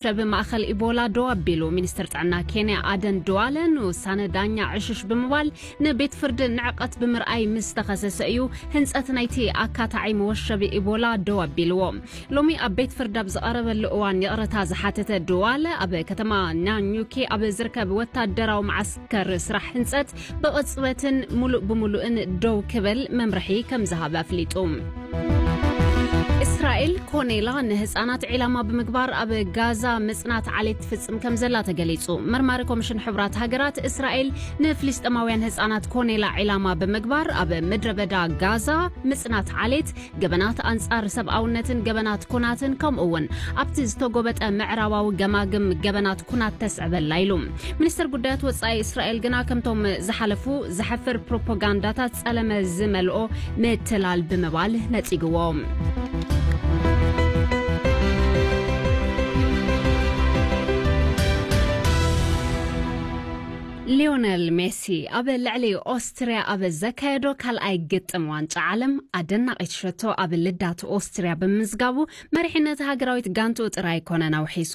ሸብ ማእኸል ኢቦላ ደው ኣቢሉ። ሚኒስትር ጥዕና ኬንያ ኣደን ድዋለ ንውሳነ ዳኛ ዕሽሽ ብምባል ንቤት ፍርዲ ንዕቐት ብምርኣይ ምስ ተኸሰሰ እዩ ህንጸት ናይቲ ኣካታዒ መወሸቢ ኢቦላ ደው ኣቢልዎ። ሎሚ ኣብ ቤት ፍርዲ ኣብ ዝቐረበሉ እዋን ይቕረታ ዝሓተተ ድዋለ፣ ኣብ ከተማ ናኙኪ ኣብ ዝርከብ ወታደራዊ መዓስከር ስራሕ ህንጸት ብቕጽበትን ሙሉእ ብምሉእን ደው ክብል መምርሒ ከም ዝሃበ ኣፍሊጡ። እስራኤል ኮኔላ ንህፃናት ዒላማ ብምግባር ኣብ ጋዛ ምፅናት ዓሌት ትፍፅም ከም ዘላ ተገሊፁ። መርማሪ ኮሚሽን ሕቡራት ሃገራት፣ እስራኤል ንፍልስጤማውያን ህፃናት ኮኔላ ዒላማ ብምግባር ኣብ ምድረ በዳ ጋዛ ምፅናት ዓሌት፣ ገበናት ኣንፃር ሰብኣውነትን ገበናት ኩናትን፣ ከምኡ እውን ኣብቲ ዝተጎበጠ ምዕራባዊ ገማግም ገበናት ኩናት ተስዕበላ ኢሉ። ሚኒስትር ጉዳያት ወጻኢ እስራኤል ግና ከምቶም ዝሓለፉ ዘሕፍር ፕሮፓጋንዳታት ጸለመ ዝመልኦ ምትላል ብምባል ነጺግዎ። ሊዮነል ሜሲ ኣብ ልዕሊ ኦስትርያ ኣብ ዘካየዶ ካልኣይ ግጥም ዋንጫ ዓለም ኣደናቒት ሸቶ ኣብ ልዳት ኦስትርያ ብምምዝጋቡ፣ መሪሕነት ሃገራዊት ጋንቱ ጥራይ ኣይኮነን ኣውሒሱ።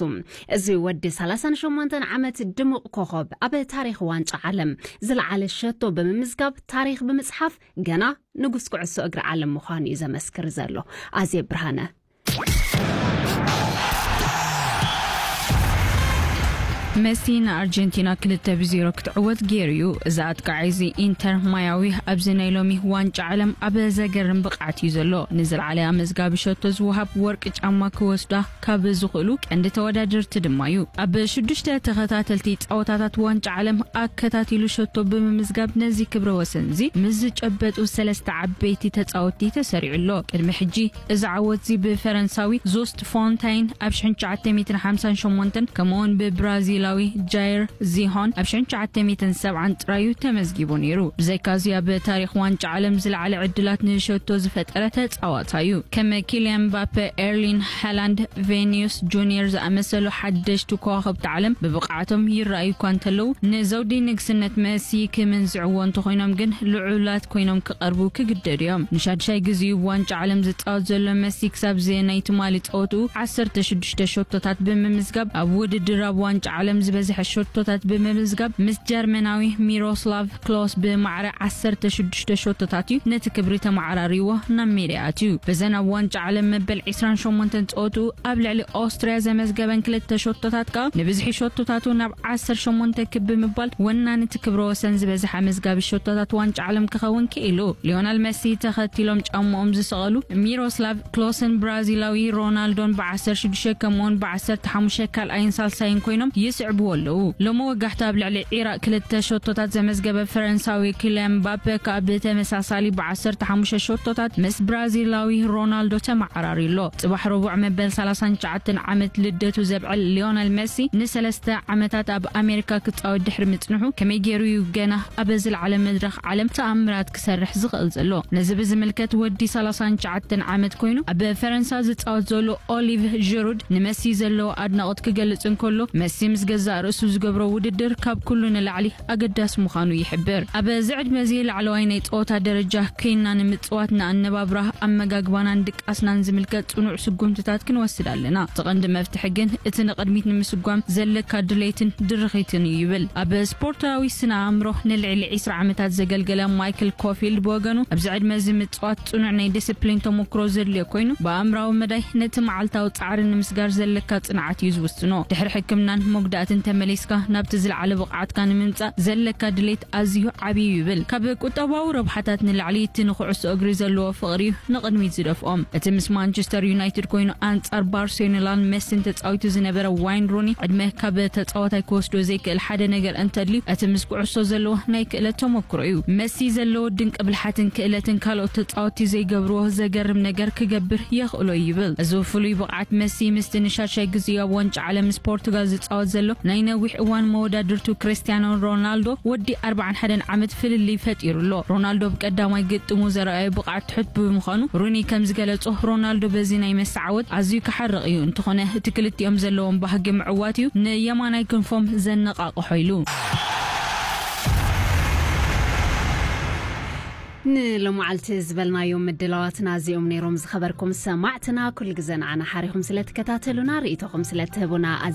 እዚ ወዲ ሰላሳን ሸሞንተን ዓመት ድሙቕ ኮኸብ ኣብ ታሪኽ ዋንጫ ዓለም ዝለዓለ ሸቶ ብምምዝጋብ፣ ታሪኽ ብምጽሓፍ፣ ገና ንጉስ ኩዕሶ እግሪ ዓለም ምዃኑ እዩ ዘመስክር ዘሎ። ኣዜብ ብርሃነ። መሲ ንኣርጀንቲና ክልተ ብዜሮ ክትዕወት ገይሩ እዩ። እዚ ኣጥቃዓይ እዚ ኢንተር ማያዊ ኣብዚ ናይ ሎሚ ዋንጫ ዓለም ኣብ ዘገርም ብቕዓት እዩ ዘሎ። ንዝለዓለ ኣመዝጋቢ ሸቶ ዝወሃብ ወርቂ ጫማ ክወስዳ ካብ ዝኽእሉ ቀንዲ ተወዳደርቲ ድማ እዩ። ኣብ ሽዱሽተ ተኸታተልቲ ጸወታታት ዋንጫ ዓለም ኣከታቲሉ ሸቶ ብምምዝጋብ ነዚ ክብረ ወሰን እዚ ምስ ዝጨበጡ ሰለስተ ዓበይቲ ተጻወትቲ ተሰሪዑ ኣሎ። ቅድሚ ሕጂ እዚ ዓወት እዚ ብፈረንሳዊ ዞስት ፎንታይን ኣብ ሽሕን ትሽዓተ ሚእትን ሓምሳን ሸሞንተን ከምኡውን ብብራዚላዊ ጃይር ዚሆን ኣብ ሽሕን ትሽዓተ ሚእትን ሰብዓን ጥራዩ ተመዝጊቡ ነይሩ። ብዘይካዚ ኣብ ታሪኽ ዋንጫ ዓለም ዝለዓለ ዕድላት ንሸቶ ዝፈጠረ ተጻዋታይ እዩ። ከም ኪልያን ምባፔ፣ ኤርሊን ሃላንድ፣ ቬኒዩስ ጁኒየር ዝኣመሰሉ ሓደሽቲ ከዋኽብቲ ዓለም ብብቕዓቶም ይረኣዩ እኳ እንተለዉ፣ ንዘውዲ ንግስነት መሲ ክምንዝዕዎ እንተኾይኖም ግን ልዑላት ኮይኖም ክቐርቡ ክግደዱ እዮም። ንሻድሻይ ግዜኡ ዋንጫ ዓለም ዝጻወት ዘሎ መሲ ክሳብ እዚ ናይ ትማሊ ጸወትኡ ዓሰርተ ሽዱሽተ ሸቶታት ብምምዝጋብ ኣብ ውድድር ኣብ ዋንጫ ዓለም ዝበዝሐ ሸቶታት ብምምዝጋብ ምስ ጀርመናዊ ሚሮስላቭ ክሎስ ብማዕረ ዓሰርተ ሽዱሽተ ሸቶታት እዩ ነቲ ክብሪ ተመዓራሪዎ ናብ ሜዳ ኣትዩ። በዘን ኣብ ዋንጫ ዓለም መበል ዕስራን ሸሞንተን ጸወትኡ ኣብ ልዕሊ ኦስትርያ ዘመዝገበን ክልተ ሸቶታት ከኣ ንብዝሒ ሸቶታቱ ናብ ዓሰርተ ሸሞንተ ክብ ብምባል ወናኒ እቲ ክብረ ወሰን ዝበዝሐ ኣመዝጋቢ ሸቶታት ዋንጫ ዓለም ክኸውን ክኢሉ። ሊዮናል መሲ ተኸቲሎም ጫምኦም ዝሰቐሉ ሚሮስላቭ ክሎስን ብራዚላዊ ሮናልዶን ብ ዓሰርተ ሽዱሽተ ከምኡውን ብ ዓሰርተ ሓሙሽተ ካልኣይን ሳልሳይን ኮይኖም ይስዕብዎ ኣለዉ። ሎሚ ወጋሕታ ኣብ ልዕሊ ዒራቕ ክልተ ሸቶታት ዘመዝገበ ፈረንሳዊ ኪልያን ምባፔ ከኣ ብተመሳሳሊ ብ ዓሰርተ ሓሙሽተ ሸቶታት ምስ ብራዚላዊ ሮናልዶ ተመዓራሪ ኣሎ። ጽባሕ ረቡዕ መበል ሰላሳን ትሽዓተን ዓመት ልደቱ ዘብዕል ሊዮነል መሲ ንሰለስተ ዓመታት ኣብ ኣሜሪካ ክጻወት ድሕሪ ምጽንሑ ከመይ ገይሩ እዩ ገና ኣብ ዝለዓለ መድረኽ ዓለም ተኣምራት ክሰርሕ ዝኽእል ዘሎ? ነዚ ብዝምልከት ወዲ ሰላሳን ትሽዓተን ዓመት ኮይኑ ኣብ ፈረንሳ ዝጻወት ዘሎ ኦሊቭ ዥሩድ ንመሲ ዘለዎ ኣድናቖት ክገልጽ እንከሎ፣ መሲ ምስ ገዛእ ርእሱ ዝገብሮ ውድድር ካብ ኩሉ ንላዕሊ ኣገዳሲ ምዃኑ ይሕብር። ኣብ እዚ ዕድመ እዚ ላዕለዋይ ናይ ጸወታ ደረጃ ኮይና ንምጽዋት ንኣነባብራ፣ ኣመጋግባናን ድቃስናን ዝምልከት ጽኑዕ ስጉምትታት ክንወስድ ኣለና። እቲ ቀንዲ መፍትሒ ግን እቲ ንቕድሚት ንምስጓም ዘለካ ድሌትን ድርኺትን እዩ ይብል። ኣብ ስፖርታዊ ስነ ኣእምሮ ንልዕሊ ዕስራ ዓመታት ዘገልገለ ማይክል ኮፊልድ ብወገኑ፣ ኣብዚ ዕድመ እዚ ምጽዋት ጽኑዕ ናይ ዲስፕሊን ተመክሮ ዘድልዮ ኮይኑ፣ ብኣእምራዊ መዳይ ነቲ መዓልታዊ ጻዕሪ ንምስጋር ዘለካ ጽንዓት እዩ ዝውስኖ። ድሕሪ ሕክምናን መጉዳእትን ተመሊስካ ናብቲ ዝለዓለ ብቕዓትካ ንምምጻእ ዘለካ ድሌት ኣዝዩ ዓብዪ እዩ ይብል። ካብ ቁጠባዊ ረብሓታት ንላዕሊ እቲ ንኩዕሶ እግሪ ዘለዎ ፍቕሪ እዩ ንቕድሚት ዝደፍኦም። እቲ ምስ ማንቸስተር ዩናይትድ ኮይኑ ኣንጻር ባርሴሎናን መሲን ተጻዊቱ ዝነበረ ዋይን ሩኒ፣ ዕድመ ካብ ተጻዋታይ ክወስዶ ዘይክእል ሓደ ነገር እንተድልዩ፣ እቲ ምስ ኩዕሶ ዘለዎ ናይ ክእለት ተመክሮ እዩ። መሲ ዘለዎ ድንቂ ብልሓትን ክእለትን ካልኦት ተጻወትቲ ዘይገብርዎ ዘገርም ነገር ክገብር የኽእሎ እዩ ይብል። እዚ ፍሉይ ብቕዓት መሲ ምስቲ ንሻድሻይ ግዜኡ ኣብ ዋንጫ ዓለም ምስ ፖርቱጋል ዝጻወት ዘሎ ናይ ነዊሕ እዋን መወዳድርቱ ክርስቲያኖ ሮናልዶ ወዲ ኣርባዓን ሓደን ዓመት ፍልልይ ፈጢሩ ኣሎ። ሮናልዶ ኣብ ቀዳማይ ግጥሙ ዘርኣዮ ብቕዓት ትሑት ብምዃኑ፣ ሩኒ ከም ዝገለጾ፣ ሮናልዶ በዚ ናይ መሲ ዓወት ኣዝዩ ክሓርቕ እዩ። እንተኾነ፣ እቲ ክልቲኦም ዘለዎም ባህጊ ምዕዋት እዩ ንየማናይ ክንፎም ዘነቓቕሖ ኢሉ። ንሎማዓልቲ ዝበልናዮም ምድላዋትና እዚኦም ነይሮም። ዝኸበርኩም ሰማዕትና፣ ኩሉ ግዜ ንዓና ሓሪኹም ስለ ትከታተሉና፣ ርእይቶኹም ስለ ትህቡና ኣዝዩ